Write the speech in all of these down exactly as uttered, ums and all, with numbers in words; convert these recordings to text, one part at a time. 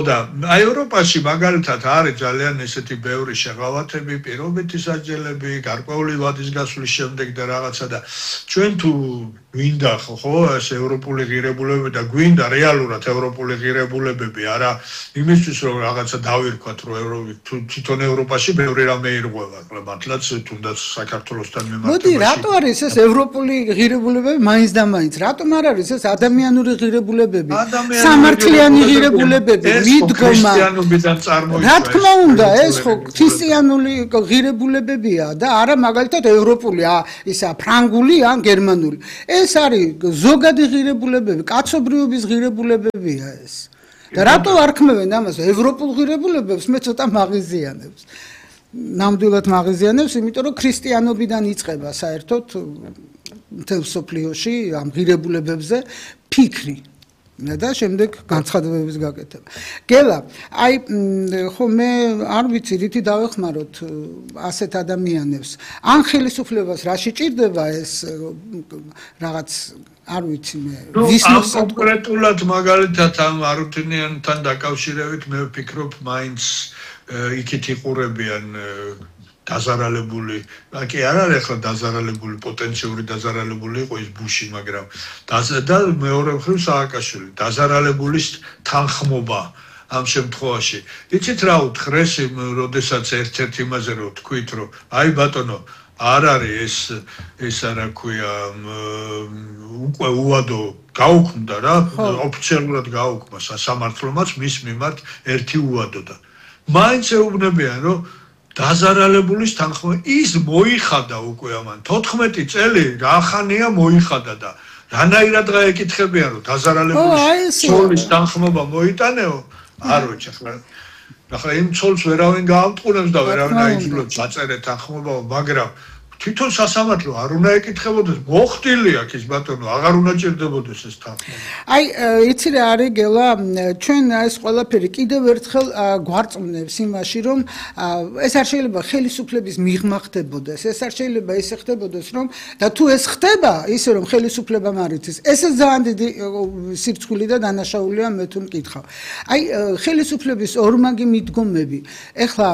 და აი ევროპაში მაგალითად არის ძალიან ესეთი ბევრი შეღავათები, პირობითი სასჯელები, გარკვეული ვადის გასვლის შემდეგ და რაღაცა და ჩვენ თუ გვინდა ხო ეს ევროპული ღირებულებები და გვინდა რეალურად ევროპული ღირებულებები, არა იმისთვის რომ რაღაცა დავირქვათ რომ თვითონ ევროპაში ბევრი რამე ირღვევა, მართლაც თუნდაც საქართველოსთან მიმართებაში. მოდი, რატო არის ეს ევროპული ღირებულებები მაინც და მაინც? რატომ არ არის ეს ადამიანური ღირებულებები? სამართლიანი ღირებულებები? მიდგომა. რა თქმა უნდა, ეს ხო ქრისტიანული ღირებულებებია და არა მაგალითად ევროპული, ისა ფრანგული ან გერმანული. ეს არის ზოგადი ღირებულებები, კაცობრიობის ღირებულებებია ეს. და რატო არქმევენ ამას ევროპულ ღირებულებებს? მე ცოტა მაღიზიანებს. ნამდვილად მაღიზიანებს, იმიტომ რომ ქრისტიანობიდან იწყება საერთოდ მთელ მსოფლიოში ამ ღირებულებებზე ფიქრი. და შემდეგ განცხადებების გაკეთება. გელა, აი ხო მე არ ვიცი რითი დავეხმაროთ ასეთ ადამიანებს. ან ხელისუფლებას რაში ჭირდება ეს რაღაც არ ვიცი მე ვისნოს კონკრეტულად მაგალითად ამ არუთინიანთან დაკავშირებით მე ვფიქრობ მაინც იქით იყურებიან დაზარალებული, კი არ არის ახლა დაზარალებული, პოტენციური დაზარალებული იყო ის ბუში, მაგრამ და მეორე მხრივ სააკაშვილი, დაზარალებულის თანხმობა ამ შემთხვევაში. იცით რა უთხრეს, როდესაც ერთ-ერთ იმაზე რომ თქვით, რომ აი ბატონო, არ არის ეს ეს რა ქვია, უკვე უადო გაუქმდა რა, ოფიციალურად გაუქმა სასამართლომაც მის მიმართ ერთი უადო და მაინც ეუბნებიან, რომ დაზარალებულის თანხმობა ის მოიხადა უკვე ამან თოთხმეტი წელი რახანია მოიხადა და რანაირად გაეკითხებიან რომ დაზარალებულის ცოლის თანხმობა მოიტანეო არ ვიცი ახლა ახლა იმ ცოლს ვერავინ გაამტყუნებს და ვერავინ აიძულებს დაწერეთ თანხმობა მაგრამ თვითონ სასამართლო არ უნდა ეკითხებოდეს მოხდილი აქ ის ბატონო აღარ უნდა ჭირდებოდეს ეს თანხმობა აი იცი რა არის გელა ჩვენ ეს ყველაფერი კიდევ ერთხელ გვარწმუნებს იმაში რომ ეს არ შეიძლება ხელისუფლების მიღმა ხდებოდეს ეს არ შეიძლება ისე ხდებოდეს რომ და თუ ეს ხდება ისე რომ ხელისუფლება მარიცის ესე ძალიან დიდი სირცხვილი და დანაშაულია მე თუ მკითხავ აი ხელისუფლების ორმაგი მიდგომები ეხლა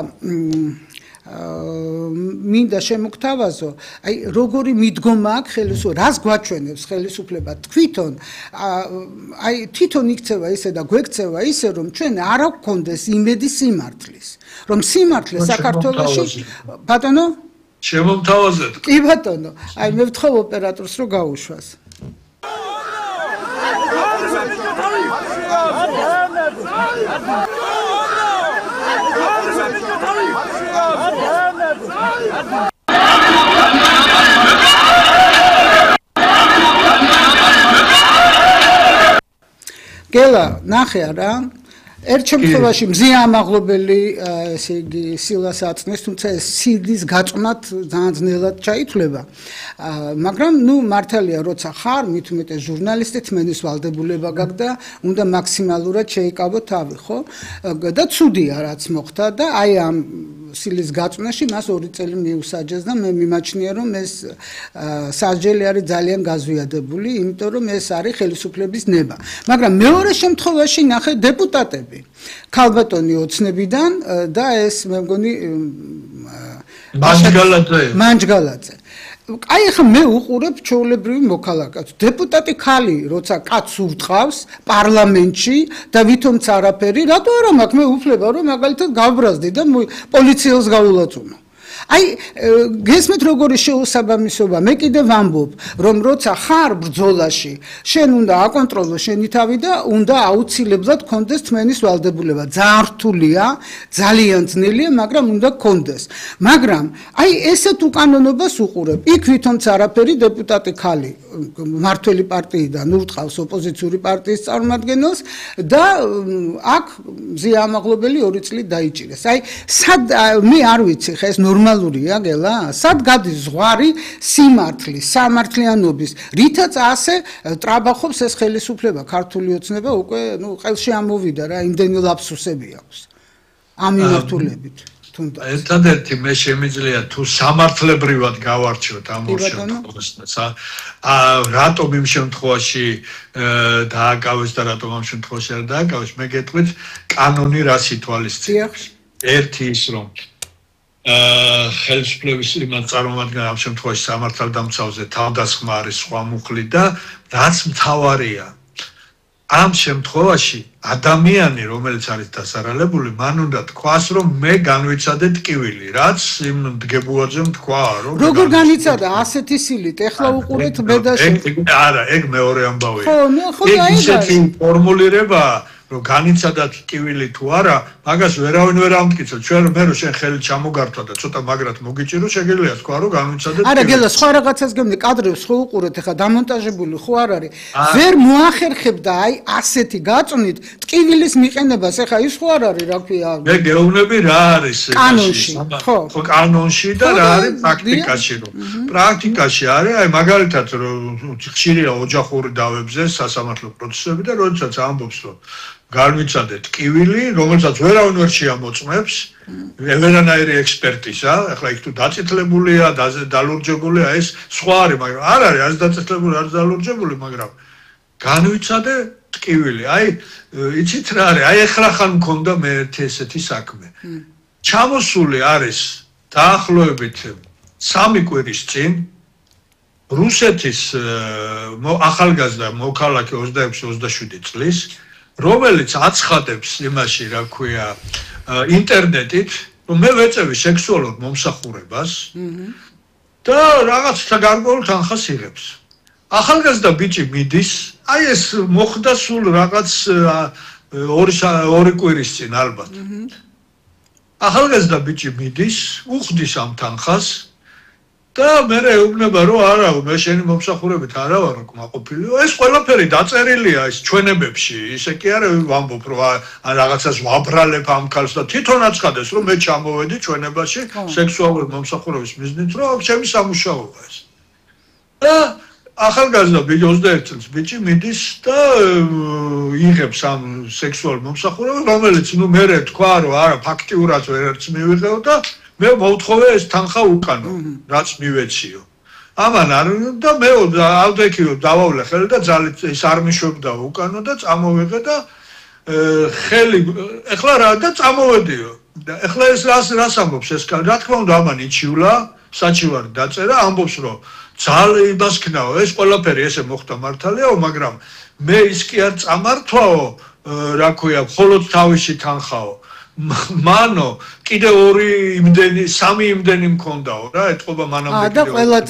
მინდა შემოგთავაზო, აი როგორი მიდგომა აქვს ხელისუფლებას, რას გვაჩვენებს ხელისუფლება თვითონ, აი თვითონ იქცევა ისე და გვექცევა ისე, რომ ჩვენ არ გვქონდეს იმედი სიმართლის, რომ სიმართლე საქართველოში, ბატონო? შემოგთავაზეთ. კი ბატონო, აი მე ვთხოვ ოპერატორს რომ გაუშვას. გელა ნახე არა ერთ შემთხვევაში მზია ამაღლობელი ესე იგი სილას აწნეს თუმცა ეს სიდის გაწვნათ ძალიან ძნელად ჩაითვლება მაგრამ ნუ მართალია როცა ხარ მით უმეტეს ჟურნალისტი თმენის ვალდებულება გაქვს და უნდა მაქსიმალურად შეიკავო თავი ხო და ცუდია რაც მოხდა და აი ამ სილის გაწვნაში მას ორი წელი მიუსაჯეს და მე მიმაჩნია რომ ეს სასჯელი არის ძალიან გაზვიადებული იმიტომ რომ ეს არის ხელისუფლების ნება მაგრამ მეორე შემთხვევაში ნახე დეპუტატები ქალბატონი ოცნებიდან და ეს მე მგონი მანჯგალაძე მანჯგალაძე აი ახლა მე უყურებ ჩვეულებრივი მოქალაქეებს დეპუტატი ხალი როცა კაცს ურტყავს პარლამენტში და ვითომც არაფერი რატო არა მაქვს მე უფლება რომ მაგალითად გავბრაზდი და პოლიციელს გავულაწუნო აი გესმით როგორი შეუსაბამისობა მე კიდე ვამბობ რომ როცა ხარ ბრძოლაში შენ უნდა აკონტროლო შენი თავი და უნდა აუცილებლად გქონდეს თმენის ვალდებულება ძალიან რთულია ძალიან ძნელია მაგრამ უნდა გქონდეს მაგრამ აი ესეთ უკანონობას უყურებ იქ ვითომც არაფერი დეპუტატი ხალი მართველი პარტიიდან ურტყავს ოპოზიციური პარტიის წარმომადგენელს და აქ მზია ამაღლობელი ორი წლით დაიჭირეს აი სად მე არ ვიცი ხა ეს ნორმალურია გელა სად გადის ზღვარი სიმართლის სამართლიანობის რითაც ასე ტრაბახობს ეს ხელისუფლება ქართული ოცნება უკვე ნუ ყელში ამოვიდა რა იმდენი ლაფსუსები აქვს ამ მიმართულებით თუნდაც. ერთადერთი მე შემიძლია თუ სამართლებრივად გავარჩიოთ ამ ორ შემთხვევას. ა რატომ იმ შემთხვევაში დააკავეს და რატომ ამ შემთხვევაში არ დააკავეს, მე გეტყვით კანონი რას ითვალისწინებს. ერთი ის რომ აა ხელისუფლების იმან წარმომადგენელი ამ შემთხვევაში სამართალდამცავზე თავდასხმა არის სხვა მუხლი და რაც მთავარია ამ შემთხვევაში ადამიანი რომელიც არის დასარალებული მან უნდა თქვას რომ მე განვიცადე ტკივილი რაც იმ დგებუაძე თქვა რომ როგორ განიცადა ასეთი სილით ეხლა უყურეთ ბედაში არა ეგ მეორე ამბავია ხო ნუ ხო და ისეთი ფორმულირება რომ განიცადა ტკივილი თუ არა მაგას ვერავინ ვერ ამტკიცებს ჩვენ მე რომ შენ ხელი ჩამოგართვა და ცოტა მაგრად მოგიჭირო შეგიძლია თქვა რომ განიცადა ტკივილი არა გელა სხვა რაღაცას გემნი კადრებს ხო უყურეთ ეხლა დამონტაჟებული ხო არ არის ვერ მოახერხებდა აი ასეთი გაწვნით ტკივილის მიყენებას ეხლა ის ხო არ არის რა ქვია მე გეუბნები რა არის კანონში ხო ხო კანონში და რა არის პრაქტიკაში რომ პრაქტიკაში არის აი მაგალითად რომ ხშირია ოჯახური დავებზე სასამართლო პროცესები და როდესაც ამბობს რომ განვიცადე ტკივილი, რომელსაც ვერავინ ვერ შეამოწმებს, ვერანაირი ექსპერტიზა, ახლა იქ თუ დაწითლებულია, დალურჯებულია, ეს სხვა არის, მაგრამ არ არის, არის დაწითლებული, არის დალურჯებული, მაგრამ განვიცადე ტკივილი. აი, იცით რა არის? აი ახლა ხან მქონდა მე ერთი ესეთი საქმე. ჩამოსული არის დაახლოებით სამი კვირის წინ რუსეთის ახალგაზრდა მოქალაქე ოცდაექვსი ოცდაშვიდი წლის რომელიც აცხადებს იმაში, რა ქვია, ინტერნეტით, რომ მე ვეწევი სექსუალურ მომსახურებას და რაღაცა გარკვეულ თანხას იღებს. ახალგაზრდა ბიჭი მიდის, აი ეს მოხდა სულ რაღაც ორი კვირის წინ ალბათ. ახალგაზრდა ბიჭი მიდის, უხდის ამ თანხას და მე ეუბნება რომ არა, მე შენი მომსახურებით არა ვარ კმაყოფილი. ეს ყველაფერი დაწერილია ის ჩვენებებში. ისე კი არა ვამბობ რომ ან რაღაცას ვაბრალებ ამ ქალს და თვითონ აცხადეს რომ მე ჩამოვედი ჩვენებაში სექსუალური მომსახურების მიზნით რომ ჩემი სამუშაოა ეს. და ახალგაზრდა ბიჭი ოცდაერთი წლის ბიჭი მიდის და იღებს ამ სექსუალურ მომსახურებას, რომელიც ნუ მე თქვა რომ არა ფაქტიურად ვერც მივიღეო და მე მოვთხოვე ეს თანხა უკანო, რაც მივეციო. ამან არ და მე ავდექიო დავავლე ხელი და ძალით ის არ მიშვებდა უკანო და წამოვიღე და ხელი ეხლა რა და წამოვედიო. და ეხლა ეს რას რას ამბობს ეს კაცი? რა თქმა უნდა ამან იჩივლა, საჩივარი დაწერა, ამბობს რომ ძალე იმას ქნაო, ეს ყველაფერი ესე მოხდა მართალიაო, მაგრამ მე ის კი არ წამართვაო, რა ქვია, მხოლოდ თავისი თანხაო. მანო კიდე ორი იმდენი სამი იმდენი მქონდაო რა ეთყობა მანამდე კიდე